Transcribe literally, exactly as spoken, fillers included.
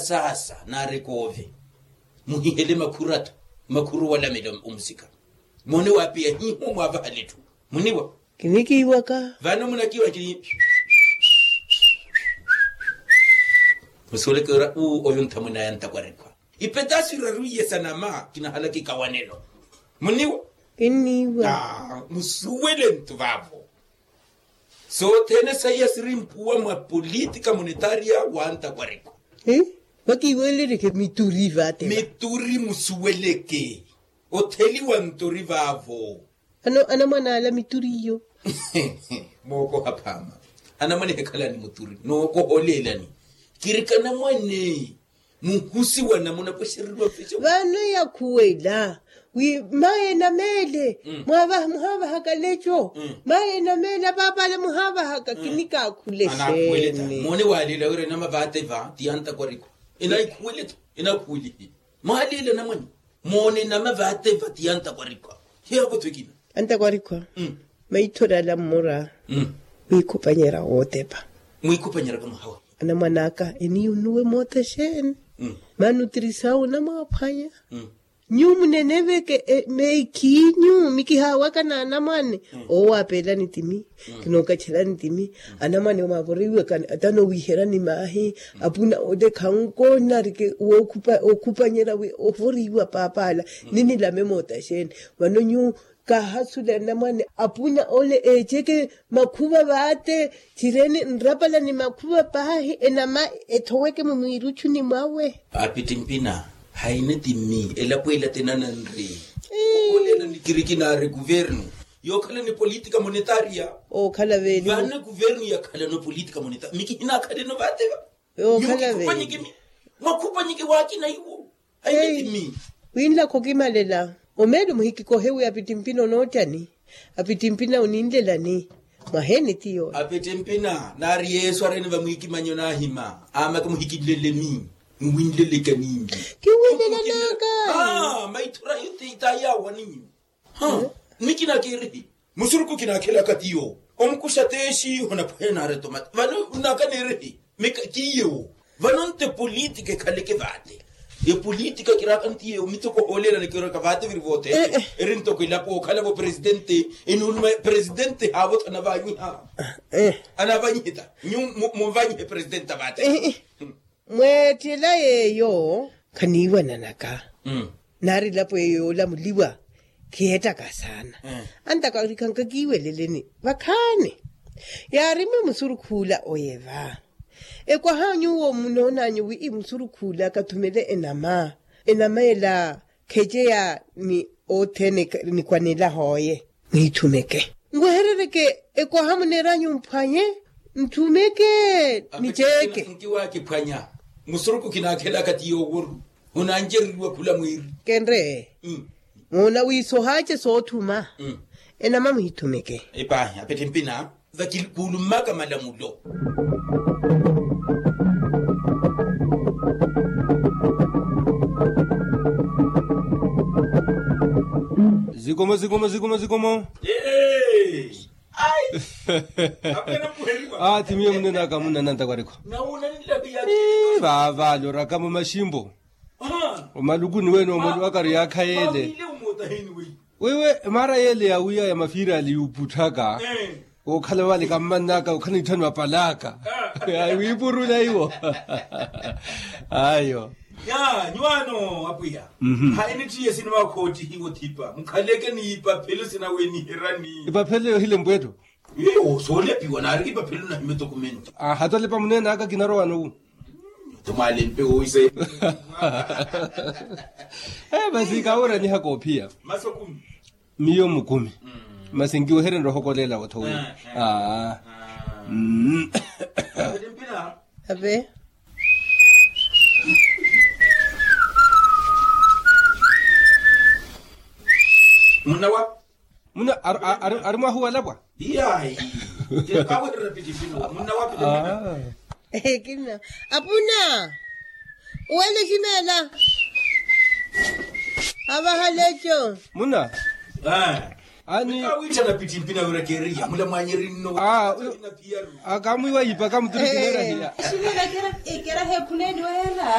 Saasa naari koove muhihele makhuru atthu, makhuru walamela omusika. Moone waapiya hiiho mwaavahala etthu. Muniwa? Kinikiiwaka. Vano munakiiwa kini. Musuweleke ora uu oyo nthamwene aya antakwarikwa ipetasu iraru iye sa nama kinahala kikawanelo. Muniwa? Kinniiwa. Musuwele ntu vaavo. Sothene saiya siri mpuwa mwa politika monetaria wa antakwarikwa. Vakiiwelereke mituri vate mituri musuweleke. Otheliwa ntori vaavo. Ano anamwana ala mituri iyo. Mookoha phaama. Anamwane hekhalani muturi nookoholelani. Kirika anamwane muhusiwa namuna pwexereriwa mfexa. Vano yakhuwela wi maye nameele. Muhaavahaka leco. Maye nameele apaapala muhaavahaka kinikaakhule xeeni. Moone waaleela wira enama vaate va ti antakwarikwa. Enaikhuwele-tho. Enaikhuwele. Mwaaleela anamwane. Moone nama vaate vati antakwarikwa. Hiyaapotho ekina. Antakwarikwa. Maithori ala mmora mwiikhupanyerya wootepa. Mwiikhupanyerya ka mwaha wa anamwan'aka eniyo nnuwe moota xeeni? Maana otirisaawe onamwaaphwanya. Nyuwo muneneveke meekhiinyu mikihaawaka n'anamwane. Owo aapeelani timi. Kinookachelani timi. Anamwane omaavoriwaka ata noowiherani maahi. Apuna ole khankoonarike wookhupanyerya wi ovoriwa paapala. Ninilame moota xeeni? Vano nyuwo kaahasule anamwane apuna ole eeceke makhuva vaate. Cireni nrapala ni makhuva paahi enama ethoweke mumwiiruchuni mwawe. Apittimpina haine timi elapo ela tenananri. Olela ni kirikinaari kuvernu yookhala ni politika monetaria. Ookhala veli vana kuvernu yakhalano politika monetaria mikihinakhaleno vaate va. Yookhala veli mwakhupanyeke waakina iwo. Ai mitimi winlakha okimalela. Omeelo muhikikohe wi apittimpina onoottani? Apittimpina oninlelani? Mwaheni tiyo apittimpina naari yesu arene vamwiikimanyo naahima aamaka muhikinlelemi. Nwinlelekani? Kiwinlelanaka. Maithura yutitayaawaninyu. Nnikina kiirihi musuruku kinakhelaka tiyo omukuxa teexi onapwehe naari tomata vano nnaka neerihi. Mika kiiyewo vano nte politika ekhaleke vaate. Epolitika kiraaka ntiyewo mitoko hooleelana kiraka vaate viri voothene. Eri ntoko elapo okhalavo presidente enuuluma presidente haavo thanavaanyiha. Anavaanyihe ta nyu munvaanyihe presidente avaate. Mweettela yeeyo khaniiwananaka. Naari elapo eyo yoolamuliwa khiyeettaka saana. Antakarikhanka kiiweleleni vakhaani. Yaarimiwe musurukhuula oye va ekwaha nyuwo munoonanyu wi musurukhuula kathumele enama. Enama ela khejeya ni othene nikwanela hooye. Mwiithumeke nweherereke ekwaha muneeranyu mphwanye. Nthumeke niceeke nkiwaakiphwanya. Musuruku kinaakhelaka ti yooworu hunanjereriwa khula mwiiri. Kenre muuna wiisohaace soothuma. Enama muhithumeke epaahi apethe mpina. Vakikuulummaka malamulo. Zikomo zikomo zikomo zikomo. Ati miyo munenaka munanantakwarikho. Vaavale orakamo maximpo. Omalukuni wene omwali wakari yaakha yeele. Wewe mara yeele yawiya ya mafiirali yuuputthaka. Okhala vale kammannaka okhala nitthanu apalaka. Wiipurula iwo. Ayo. Ya nyuwaano apwiya. Hayi nittiye sinivaakhoottihiwa othipa mukhaleke ni ipaphelo sinaweniherani. Ipaphelo yohile mpweetto. Iyo soolepiwa naari ipaphelo nahimetokomento. Hatwalepa muneenaka kinarowano wu. Tomwalempe woise. Masi kaworanyiha koophiya. Miyo mukumi. Masi nkiwehereni rohokolela othowi. Ave. Munna wa muna ari mwahuwalapwa. Iyayi. Kawerera pitipino munna wa pitipino. Ekina apuna. Uwele ximeela. Avahaleco muna. Ani kawittana pitipino awerekeeriya mula mwanyerinno. Akamwiwa yipa kamuturi kineerahiya. Ximeela. Ekeraha ekhuneni weera.